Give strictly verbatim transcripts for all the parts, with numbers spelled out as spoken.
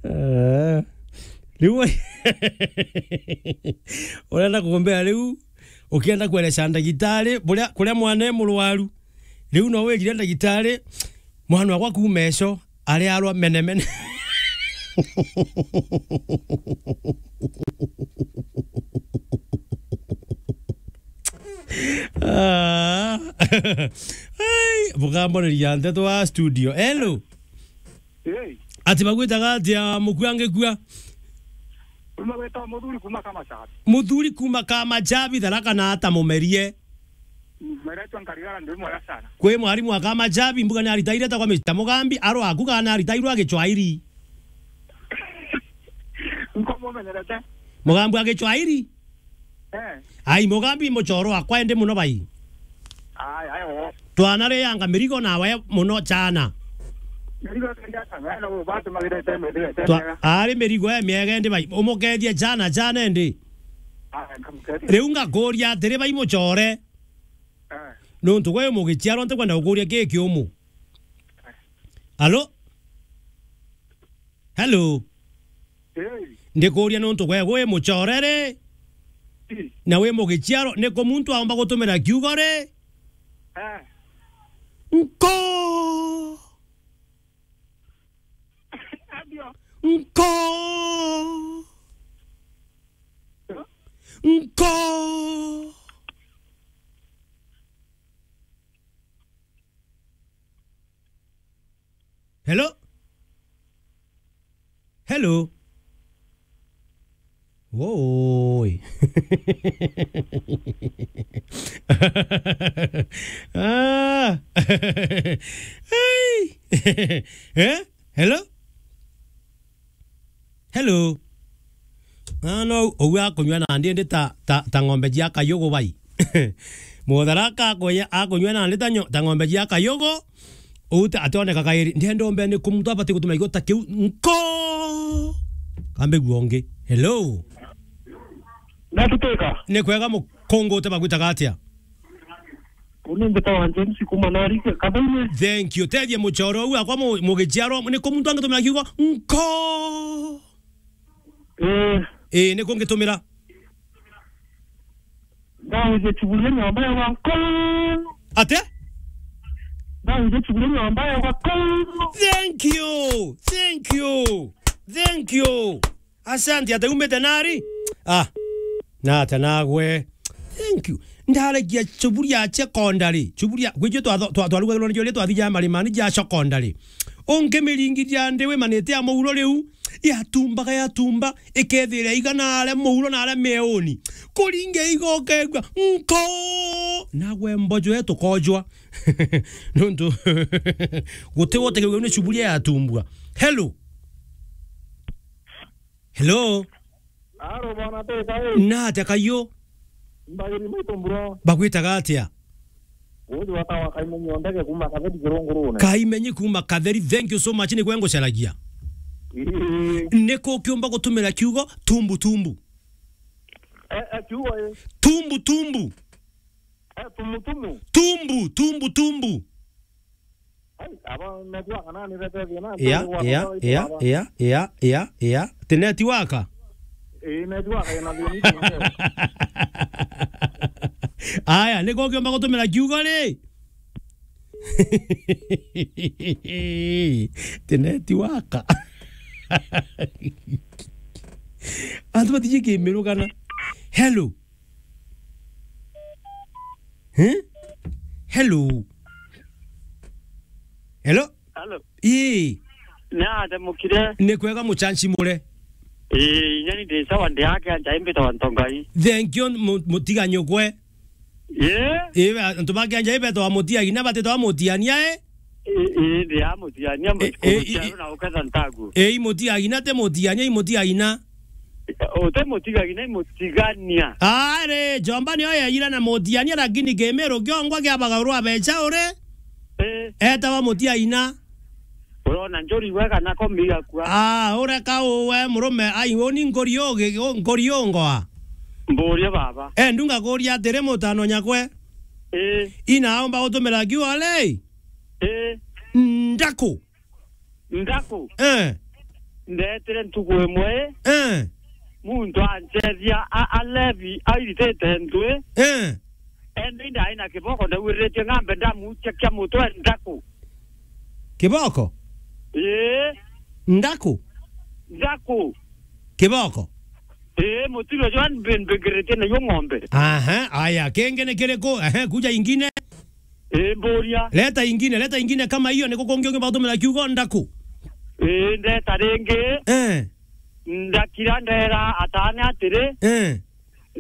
Eh. Riu urenda kumbea riu, ukienda kuereca ndagitari buria, kuria mwana e murwaru, riu no wigire ndagitari, mwana wakwa kuuma eco, ari arwa menemene. Ah. Ai, bukamboneria nteto wa studio. Hello. Hey. Ati bagwitaga atia mukua ngikua? Kuma gwita muthuri kuma Kamachabi. Muthuri kuma Kamachabi, Tharaka na ata mumerie. Meretwa Nkarigara ndi mwega sana. Kwi mwarimu wa Kamachabi, mbuga ni aritaire ta kwa Mister Mugambi, aro aku kana aritairwe a Gichwairi? Nko mumenyerete. Mugambi wa Gichwairi? Eh. Ai, Mugambi muchoro wakwa ende muno bai. Ai, ai, oo. Twana rianga mirigo nawe muno chana. Mirigo kenda sana, na ubatu magirete, magirete. Twa-, ari mirigo e miega ende bai. Umukethie chana, chana ende. Ai, nkamukethia. Riu ngakuria atiri bai muchore. Eh. Nuntu gwe mugichiarwa ntikwenda gukuria ki kiumu. Alo? Hello? Hey. Ndikuria nuntu gwe gwi muchore ri? Ii. Na wi mugichiaro, ni ku muntu aumba gutumira kiugo ri? Eh. Nko! Adio. Nko! Nko! Hello? Hello? Woi. Ah. Hey. Eh? Hello? Hello. Ah, no, ou akunyua nandi ndi ta, ta, ta ng'ombe cia kayugu bai. Mutharaka akunya-, akunyua nandi ta nyo-, ta ng'ombe cia kayugu. Ou ta ationeka kairi. Ndienda umbe ni ku muntu abati gutuma igota kiu. Nko! Kambe guo ungi. Hello. Natuteka. Ni kwega mu-, Kungute bagwitaga atia? Uni mbitawa James kuma Narika, Kathaine. Thank you. Tethia muchoro uu akwa mu-, mugichiarwa, ni ku muntu angitumira kiugo, nko? Eh. Eh, ni ku ngitumira? Ndawije chiburia nyomba ya nko. Ate? Ndawije chiburia nyomba ya nko. Thank you. Thank you. Thank you. Asante, ate umite nari? Ah, nata nagwe. Thank you. Ndaragia chuburia secondary. Chuburia, gwijio twa, twa, twarugagirwo ni juria twathija marimani ja secondary. Ungi miringi ja ndi wimanite ya muuro riu, yatumbaga yatumba, ikethira igana aria muuro na aria meuni. Kuringe igoka igwa, nko! Nagwe mbojo yetu kojwa. Nuntu, guti wote kiuga ni chuburia yatumbua. Hello. Hello. Aro bwana teka, eh. Na atia kayo? Mbagiri maitu mbura. Bagwitaga atia? Uyu watawa Kaimenyi Ondege kuma Katheri Kirungurune. Kaimenyi kuma Katheri, thank you so much, ni gwe ngucaragia. Ii. Ni ku kiumba gutumira kiugo tumbu tumbu? Eh, eh, kiugo, eh. Tumbu tumbu. Eh, tumu, tumu. Tumbu, tumbu, tumbu. Ai, aba network nani bete thina, ya, ndio ya, watu ya, baba. Ya, ya, ya, ya. Ti network? Eh, network ina thina. Aya, ni ku kiumba gutumira kiugo ri? Ti network. Antu batiji kimirugana. Hello. Eh? Hello. Hello? Hello. Ii. Ni atia mukire? Ni kwega muchanchi mure. Ii, inya ni ndi sawa, ndi ake anja imbita wa Ntongai. Thank you, mu-, mutiga nyukwe. Ii? Ii, antu bake anja ibeta wa mutiagi na bateta wa mutiania, eh? Ii, ii, ndi ya mutiania, eh, mutiania na uketha ntagu. Ii, mutiagi na te mutiania, ii, mutiagi na. Ute mutigagi na imutigania. Ari, Jomba nio yeyire na mutiania, lakini Kimiru kiongwa kiabagarwa becha uri. Eh. Etawa mutiaina. Urona njuri wega na kombi igakua. Ah, ureka uwe murume, ai, uni nkuri ugi-, u-, nkuri ungoa. Mburia baba. Eh, ndunga kuria atiri mutano nyakwe. Eh. Ina aomba gutumira kiugo ri? Eh. Ndaku. Ndaku. Eh. Ndetire ntuku imwe, eh, muntu anchethia a-, alevi airitite ntwi. Eh. Ende ndai na kiboko, ndauririte ng'ambe ndamuchia kia mutwe ndaku. Kiboko? Ii. Ndaku? Ndaku. Kiboko? Ii, mutiro jwa mbi-, mbingirite nayo ng'ombe. Aha, aya, kingi ni kiriku? Ehe, kuja ingine. Ii, mburia. Leta ingine, leta ingine kama hiyo, niko kungi ungi batumira kiugo ndaku. Ii, ndeta ringi. Eh. Ndakira ndera atane atiri, eh,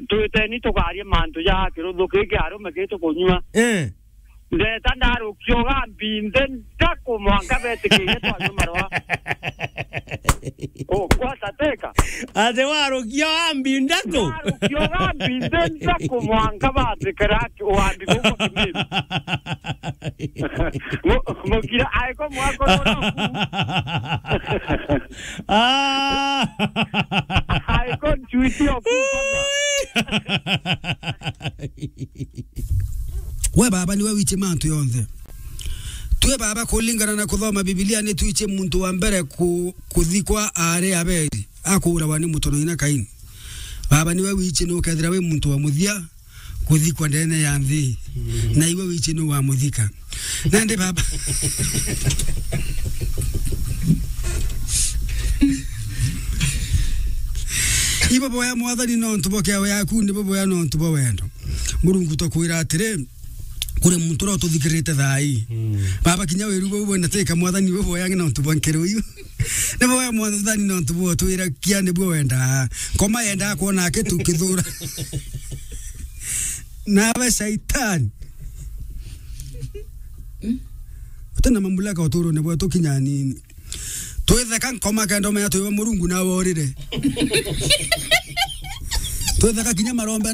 twiteni tukarie mantu ja kiruthu kiki arume ki tukunyua. Eh. Ndeta ndarukia ugambi nthi ndaku mwanka betikire twanyua marwa. O, kwata teka. Ati warukia ugambi ndaku? Ndarukia ugambi nthi ndaku mwanka batikira ugambi bukwa kimiri. Mu-, mukira aiko mwako noku. Ah. Aiko nchuiti oku. We baba, niwe wichi mantu yonthe. Twi baba, kulingana na kuthoma Bibilia, ni twichi muntu wa mbere ku-, kuthikwa ari Abeli, akuurawa ni mutono ina Kaini. Baba, niwe wichi nukethira wi muntu wa muthia kuthikwa ndene ya nthi. Mm. Na iwe wichi nu wa muthika. Nandi baba. Ibo boya Mwathani nontu bo kiao yaku, nibo boya nontu bo wendo. Murungu, tukwira atiri, kuri muntu uria ututhikirite thaa ii. Mm. Baba, kinya wiru bau bwenda teka Mwathani, ibo boya nontu bwa nkero iu. Nibo boya Mwathani nontu bwa utwira kia nibuo wenda. Nkoma yenda kwona akitu kithura. Nawe Shaitani. Utina mamulaka uturone bwetu kinya nini. Twitheka nkoma kenda umenya twiwe Murungu nawe urire. Twitheka kinya marombe